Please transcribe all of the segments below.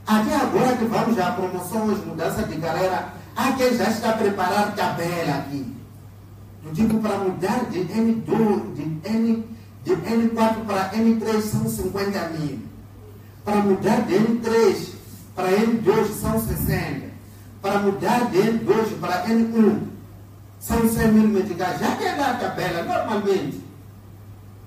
Até agora que vamos a promoções, mudança de carreira, há quem já está a preparar tabela aqui. Do tipo, para mudar de N2, de N4 para N3 são 50 mil. Para mudar de N3 para N2 são 60. Para mudar de N2 para N1 são 100 mil meticais. Já tem lá a tabela, normalmente.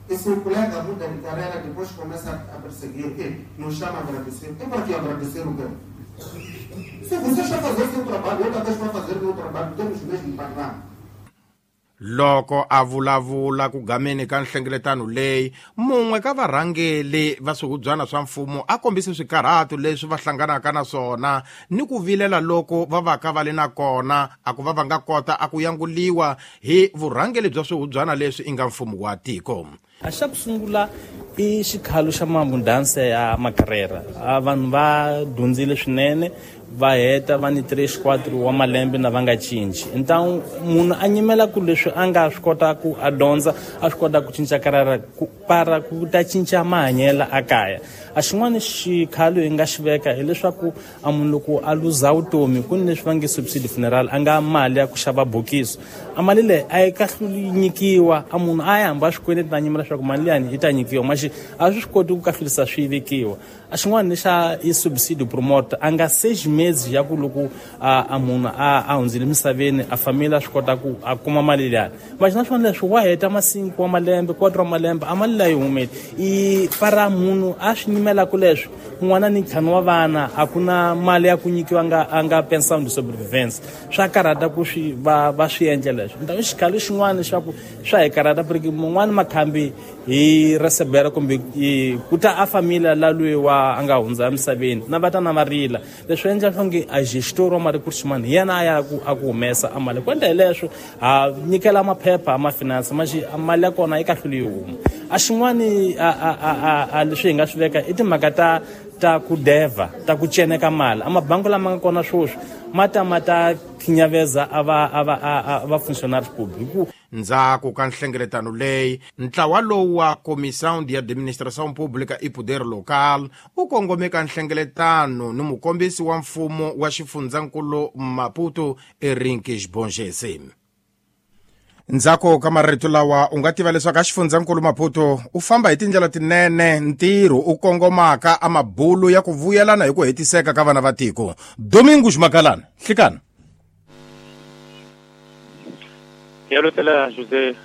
E se o colega muda de carreira, depois começa a perseguir o quê? Não chama a agradecer. É para que agradecer o quê? Se você está fazendo seu trabalho, outra vez vai fazer o meu trabalho, temos o mesmo padrão. Loko a vulavula ku gameni ka nhlengeletano leyi, mun'we ka varhangeli va swihubyana swa mfumo a kombise swikarhato leswi va hlanganaka na swona ni ku vilela loko va vaka va le na kona a ku va va nga kota a ku yanguliwa hi vurhangeli bya swihubyana leswi i nga mfumo wa tiko. A xa ku sungula i xikhalo xa mamudanse ya makarera. A vanhu va dyondzile swinene, va heta va ni 3 4 wa malembe na va nga cinci. Então munhu a nyimela ku leswi a nga swi kota ku a dyondza, a swi kota ku cinca karara ku para ku ta cinca mahanyelo a kaya. A xin'wana xikhalo hi nga xi veka hileswaku a munhu loko a luza vutomi ku ni leswi va nge subsidy funeral, a nga mali ya ku xava bokisi. A mali leyi a yi kahluli nyikiwa, a munhu a ya hamba swikweleti na nyimela leswaku mali liyani yi ta nyikiwa, maxi a swi swi koti ku kahlurisa swi vekiwa. A xin'wana ni xa i subsidy promote, a nga seji mezi ya ku loko a munhu a hundzile misaveni, a family a swi kota ku a kuma mali liyani. Maxi na swona leswi wa heta ma-5 wa malembe, 4 wa malembe, a mali leyi humeli. I para munhu a swi nyimelaka leswi, n'wana ni ntlhanu wa vana, a ku na mali ya ku nyikiwa a nga pension de sobrevivência. Swa karhata ku swi va swi endla leswi. Nta xikhalo xin'wana leswaku swa hi karhata, porque mun'wani makhambi hi recebera kumbe ku ta a familia la loyi wa a nga hundza emisaveni, na va ta na va rila. Leswi endla onge a gestor wa mali ku ximani hi yena a ya ku a ku humesa a mali. Ku endla hi leswo ha nyikela maphepha ma finance, maxi mali ya kona yi kahluli yi huma. A xin'wani a leswi hi nga swi veka i timhaka ta ku deva, ta ku ceneka mali. A mabangi lama nga kona sweswi ma ta ma ta khinyaveza a va a va a va funcionários públicos. Ndzhaku ka nhlengeletano leyi, ntlawa lowu wa Comissão de Administração Pública e Poder Local u kongome ka nhlengeletano ni mukombisi wa mfumo wa xifundzankulu Maputo, Erinki Bongese. Ndzhaku ka marito lawa u nga tiva leswaku a xifundzankulu Maputo u famba hi tindlela tinene ntirho u kongomaka a mabulu ya ku vuyelana hi ku hetiseka ka vana va tiko. Domingos Magalana, hlikana. Ya lotela José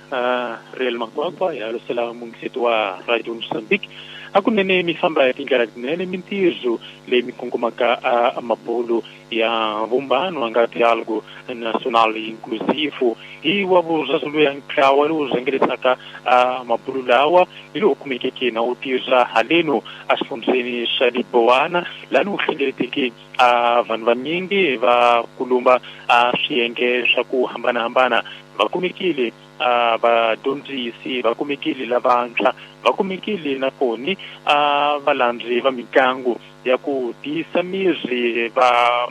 Real Makwakwa, ya lotela mungiseto wa Radio Mozambique. Hakunene mi famba hi tindlela tinene mintirho leyi mi kongomaka a mabulu ya vumbano a nga diálogo nacional inclusivo hi wa vurhazulu ya ntlawa lowu rhangerisaka a mabulu lawa hi lowu kumekeke na wu tirha haleno a xifundzeni xa Liboana, laha wu hlengeleteke a vanhu vanyingi va kulumba a swiyenge swa ku hambanahambana. Va kumekile a vadyondzisi, va kumekile lavantshwa, va kumekile na koni a valandzi va mitlangu ya ku tiyisa miri, va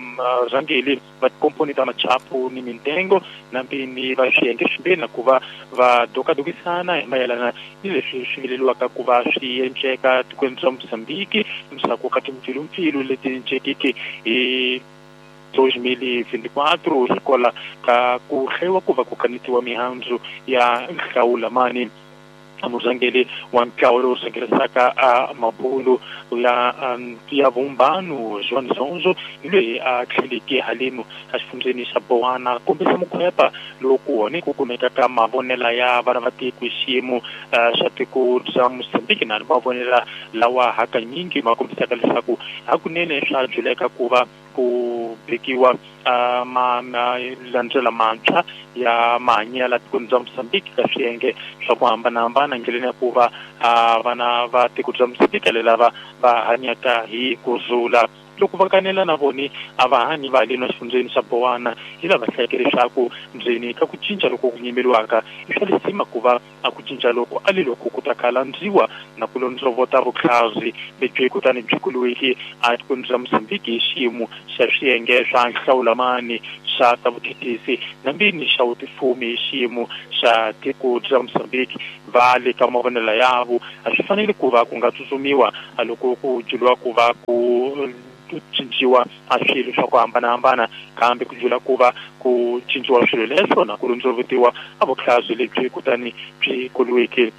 rhangeli va tikomponi ta machapu ni mintengo na mpini va swiyenge swimbirhi, na ku va va dokadokisana hi mayelana ni leswi swi vileliwaka ku va swi endleka tikweni ra Mozambique ndzhaku ka timpfilumpfilu leti encekeke hi 2024 hikwalaho ka ku hlayiwa ku va ku kanetiwa mihandzu ya nhlawulamani. Murhangeri wa ntlawa lowu rhangerisaka a mabulu ya vumbano Joan Zonzo ni loyi a tlheleke halenu a xifundzeni xa Bowana kombisa mukhwepa lowu ku wona ku kumeka ka mavonela ya vana va tiko hi xiyimo xa tiko bya Mozambique, na mavonela lawa hakanyingi ma kombisaka leswaku hakunene swa byuleka ku va ku vekiwa malandlela mantshwa ya mahanyelo tikweni bya Mozambique ka swiyenge swa ku hambanahambana ndleleni ya ku va vana va tiko bya Mozambique lava va hanyaka hi kurhula. Loko va kanela na voni a va hanyi va haleni exifundzeni xa Bowana hi lava hlayeke leswaku ndzeni ka ku cinca loko ku nyimeliwaka i swa lisima ku va a ku cinca loko a le loko ku ta kalandziwa na ku londzovota vutlhari lebyi kutani byi kuliweke a tikweni ra Mozambique hi xiyimo xa swiyenge swa nhlawulamani xa ta vuthethisi na mbini xa vutifumi hi xiyimo xa tiko ra Mozambique. Va le ka mavonelo yavo a swi fanele ku va ku nga tsutsumiwa loko ku byeriwa ku va ku cinciwa a swilo swa ku hambanahambana kambe ku dlula ku va ku cinciwa swilo leswo na ku rundzuvutiwa a vuhlazi lebyi kutani byi koliweke.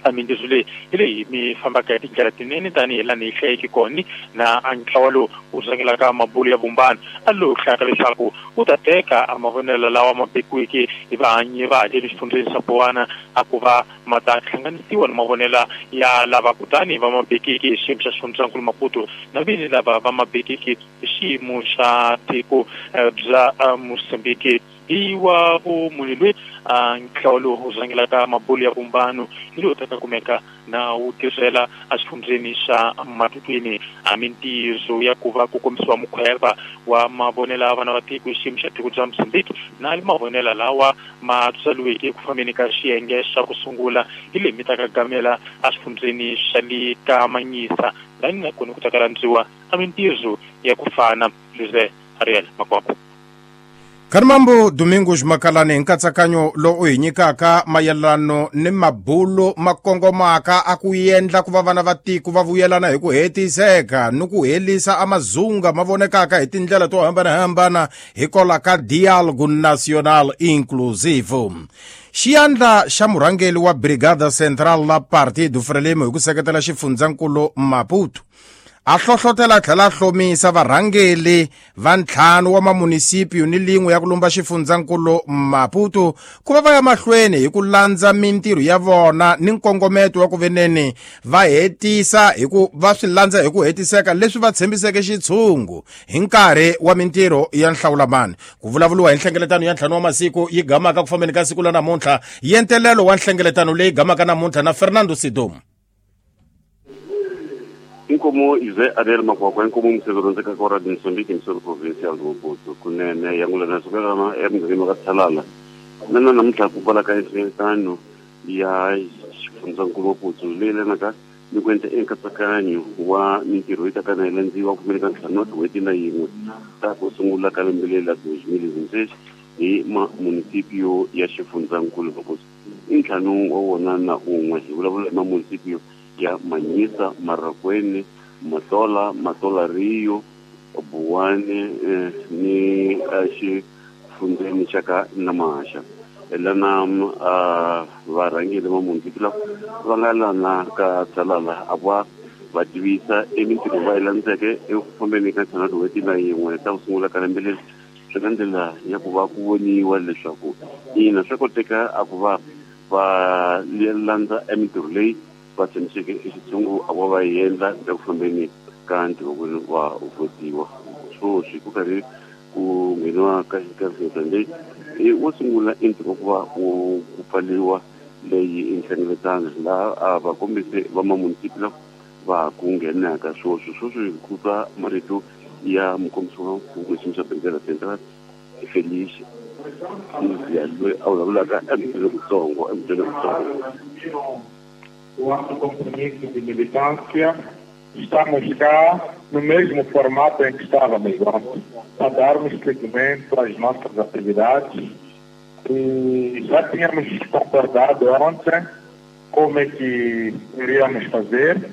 A mintirho leyi hi leyi mi fambaka hi tindlela tinene tanihi laha ni yi hlayeke kona na a ntlawa lowu wu rhangelaka mabulo ya vumbano a lowu hlayaka leswaku wu ta teka a mavonelo lawa ma bekiweke hi vahanyi va ha le xifundzheni xa Bowana a ku va ma ta hlanganisiwa na mavonelo ya lava kutani va ma bekeke hi xiyimo xa xifundzankulu Maputo na vini lava va ma bekeke hi xiyimo xa tiko bya Mozambique. Hi wa vumunhu loyi a ntlawa lowu wu rhangelaka mabulo ya vumbano hi lowu taka kumeka na wu tirhela exifundzheni xa Matukwini. A mintirho ya ku va ku kombisiwa mukhweva wa mavonelo ya vana va tiko hi xiyimo xa tiko bya Mozambique na mavonelo lawa ma tsariweke eku fambeni ka xiyenge xa ku sungula hi leyi mi taka gamela exifundzheni xa le ka Manyisa lani na kona ku taka landziwa a mintirho ya ku fana. José Ariel Makwakwa. Kharimambo Domingos Makalani hi nkatsakanyo lowu u hi nyikaka mayelano ni mabulo ma kongomaka a ku endla ku va vana va tiko va vuyelana hi ku hetiseka ni ku helisa amazunga ma vonekaka hi tindlela to hambanahambana hikola ka Dialogue National Inclusive. Xiyandla xa murhangeri wa Brigada Central la Partido Frelimo hi ku seketela xifundzankulu Maputo a hlohlotela a tlhela a hlomisa varhangeli va ntlhanu wa mamunisipio ni lin'we ya ku lumba xifundzankulu Maputo ku va va ya mahlweni hi ku landza mintirho ya vona ni nkongometo wa ku veneni va hetisa hi ku va swi landza hi ku hetiseka leswi va tshembiseke xitshungu hi nkarhi wa mintirho ya nhlawulamani. Ku vulavuriwa hi nhlengeletano ya ntlhanu wa masiku yi gamaka ku fambeni ka siku la namuntlha yentelelo wa nhlengeletano leyi gamaka namuntlha na Fernando Sidom. Inkomo José Ariel Makwakwa, inkomo museveri rhandzekaka wa Radio Mozambique misoro provincial Maputo kunene yangulana sukelana emugangeni wa ka Tshalala nana namuntlha ku kwala ka nhlengeletano ya xifundzankulu Maputo leyi yelanaka ni ku endla enkatsakanyo wa mintirho yi ta ka na yi landziwa ku fambeni ka ntlhanu wa tin'hweti na yin'we ta ku sungula ka lembe leri la 2026 hi mamunisipio ya xifundzankulu Maputo i ntlhanu wa wona na un'we hi vulavula hi mamunisipio ya Manyisa, Marracuene, Matola, Matola Rio, Buwani ni xifundzheni xa ka Namaxa. Lana varhangeri va munisipi lava va nga lana ka Tsalala a va va tivisa emintirho va yi landzeke eku fambeni ka ntlhanu wa tin'hweti na yin'we ta ku sungula ka lembe leri swi nga ndlela ya ku va ku voniwa leswaku ina swa koteka a ku va va landza emintirho leyi va tshembiseke exitshungu a va va yi endla eku fambeni ka ntirho wa votiwa. Sweswi ku karhi ku ngheniwa ka nhlengeletano leyi i wo sungula i ntirho wa ku va ku pfariwa leyi nhlengeletano laha a va kombise va mamunisipi lava va ha ku nghenaka sweswi. Sweswi ku twa marito ya mukombisi wa mfumo xiyimo xa Brigada Central Felice Mzia loyi a vulavulaka emutini wutsongo emutini wutsongo. O ato compromisso de militância, estamos cá no mesmo formato em que estávamos antes, a darmos seguimento às nossas atividades. E já tínhamos concordado ontem como é que iríamos fazer,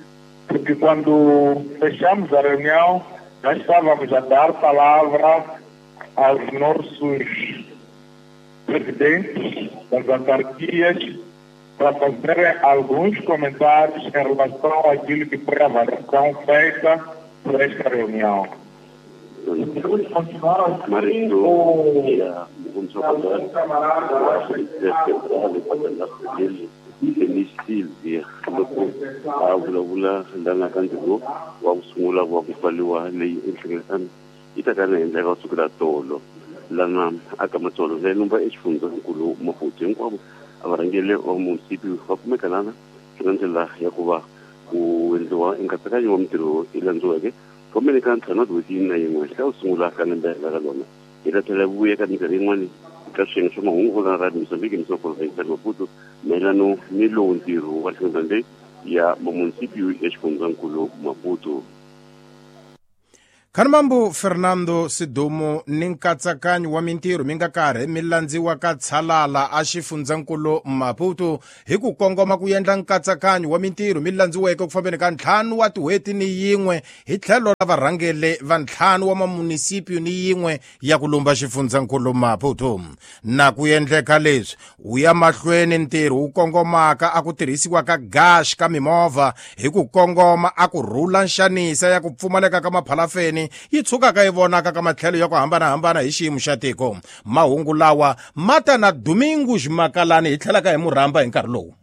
porque quando fechamos a reunião, já estávamos a dar palavra aos nossos presidentes das autarquias para fazerem alguns comentários em relação àquilo que foi a avaliação feita por esta reunião. Podemos continuar assim ou algum camarada acha que Felice Silvia loko a vulavula lana ka ntirho wa ku sungula wa ku pfariwa leyi enhlengeletano yi ta ka na endleka kusukela tolo lana aka matsolo leyi lumba exifundzankulu Maputo hinkwavo a varhangeri va munisipi va kumeka lana swi nga ndlela ya ku va ku endliwa enkatsakanyo wa mintirho yi landziweke fambeni ka ntlhanu wa tin'hweti na yin'we eka ku sungula ka lembe ra ka lona. Hi ta tlhela vuya ka minkarhi yin'wani ka swiyenge swa mahungu la Radio Mozambique misoro provincial Maputo mayelano ni lowu ntirho wa nhlengeletano leyi ya mamunisipi ya xifundzankulu Maputo. Khanimambu Fernando Sidumo ni nkatsakanyo wa mintirho mi nga karhi mi landziwa ka Tshalala a xifundzankulu Maputo hi ku kongoma ku endla nkatsakanyo wa mintirho mi landziweke ku fambeni ka 5 wa tin'hweti ni yin'we hi tlhelo ra varhangeli va 5 wa mamunisipio ni yin'we ya ku lumba xifundzankulu Maputo. Na ku endleka leswi wu ya mahlweni ntirho wu kongomaka a ku tirhisiwa ka gas ka mimovha hi ku kongoma a ku rhula nxanisa ya ku pfumaleka ka maphalafeni yi tshukaka yi vonaka ka matlhelo ya ku hambanahambana hi xiyimo xa tiko. Mahungu lawa ma ta na Domingos Makalani hi tlhelaka hi murhamba hi nkarhi lowu.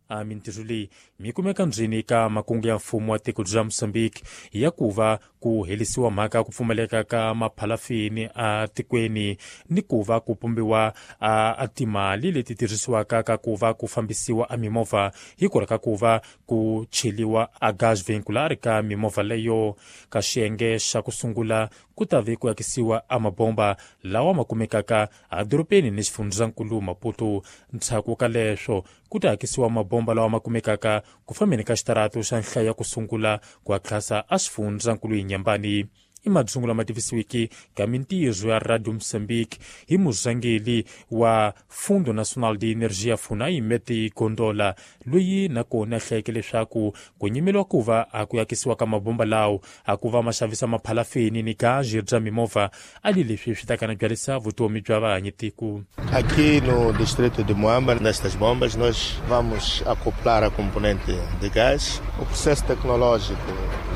A mintirho leyi mi kumeka ndzeni ka makungu ya mfumo wa tiko bya Mozambique ya ku va ku helisiwa mhaka ya ku pfumaleka ka maphalafini a tikweni ni ku va ku pumbiwa a timali leti tirhisiwaka ka ku va ku fambisiwa a mimovha hikwalaho ka ku va ku cheliwa a gas vehicular ka mimovha leyo. Ka xiyenge xa ku sungula ku ta ve ku akisiwa a mabomba lawa ma kumekaka edorobeni ni xifundzankulu Maputo. Ndzhaku ka leswo ku ta akisiwa mabomba lawa ma kumekaka ku fambeni ka xitarato xa nhlayo ya ku sungula ku akhasa a xifundzankulu Inhambane. I madzungu lama tivisiwiki ka mintirho ya Radio Mozambique hi murhangeri wa Fundo Nacional de Energia FUNAI Meti Gondola, loyi nakona a hlayeke leswaku ku nyimeliwa ku va a ku akisiwa ka mabomba lawo a ku va ma xavisa maphalafeni ni gazi bya mimovha a li leswi swi ta kana byalisa vutomi bya vahanyitiko. Aqui no distrito de Moamba, nestas bombas, nós vamos acoplar a componente de gás. O processo tecnológico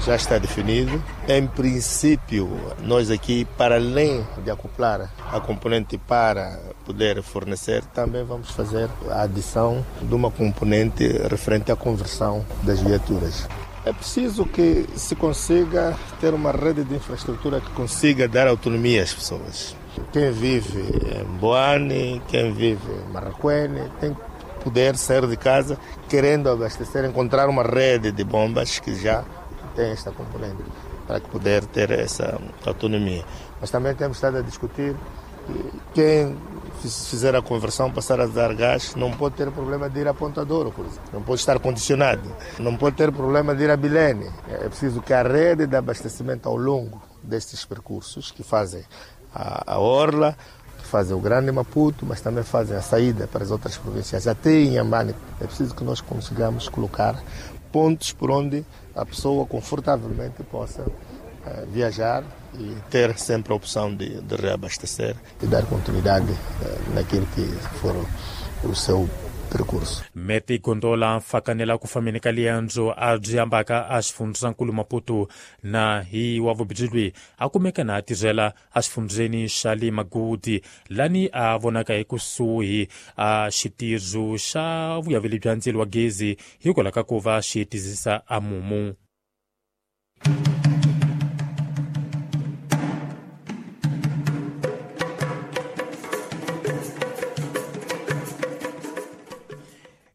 já está definido. Em princípio, nós aqui, para além de acoplar a componente para poder fornecer, também vamos fazer a adição de uma componente referente à conversão das viaturas. É preciso que se consiga ter uma rede de infraestrutura que consiga dar autonomia às pessoas. Quem vive em Boane, quem vive em Marracuene, tem que poder sair de casa querendo abastecer, encontrar uma rede de bombas que já tem esta componente, para poder ter essa autonomia. Mas também temos estado a discutir que quem fizer a conversão, passar a dar gás, não pode ter problema de ir a Ponta Douro, por exemplo. Não pode estar condicionado. Não pode ter problema de ir a Bilene. É preciso que a rede de abastecimento ao longo destes percursos, que fazem a Orla, que fazem o Grande Maputo, mas também fazem a saída para as outras províncias, até em Inhambane, é preciso que nós consigamos colocar pontos por onde a pessoa confortavelmente possa viajar e ter sempre a opção de reabastecer e dar continuidade naquilo que for o seu percurso. Meti Gondola mfakanela ku fambeni ka liendzo a byi ambaka a xifundzankulu Maputo na hi wa vubyi a kumeka na a tirhela a xifundzeni xa le Magudi lani a vonaka hi kusuhi a xitirho xa vuyaveli bya ndzilo wa gezi hikwalaho ka ku va xi tizisa a mumu.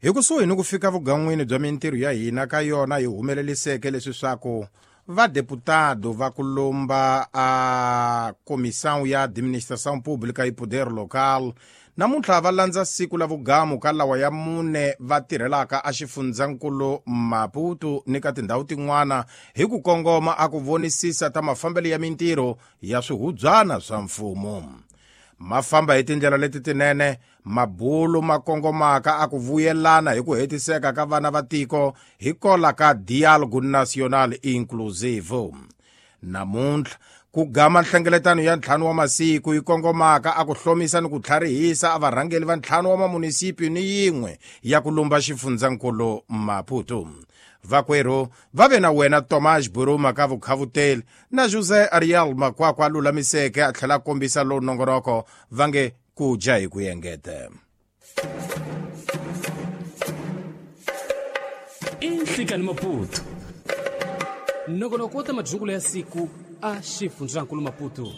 Hi kusuhi ni ku fika vugan'wini bya mintirho ya hina ka yona hi humeleliseke leswi swaku vadeputado va ku lomba a Comissão ya Administração Pública e Poder Local namuntlha va landza siku la vugamu ka lawa ya 4 va tirhelaka a xifundzankulu Maputo ni ka tindhawu tin'wana hi ku kongoma a ku vonisisa ta mafambelo ya mintirho ya swihubyana swa mfumo. Ma famba hi tindlela leti tinene, mabulu ma kongomaka a ku vuyelana hi ku hetiseka ka vana va tiko hi kola ka Diálogo Nacional Inclusivo. Namuntlha ku gama nhlengeletano ya 5 wa masiku yi kongomaka a ku hlomisa ni ku tlharihisa a varhangeli va 5 wa mamunisipi ni yin'we ya ku lumba xifundzankulu Maputo. Vakwerhu va ve na wena Tomás Buruma ka vukhavuteli na José Ariel Makwakwa a lulamiseke a tlhela a kombisa lowu nongoroko va nge ku dya hi ku engeta. I Nhlikani Maputo, nongonoko wa ta madyungulo ya siku a xifundzankulu Maputo.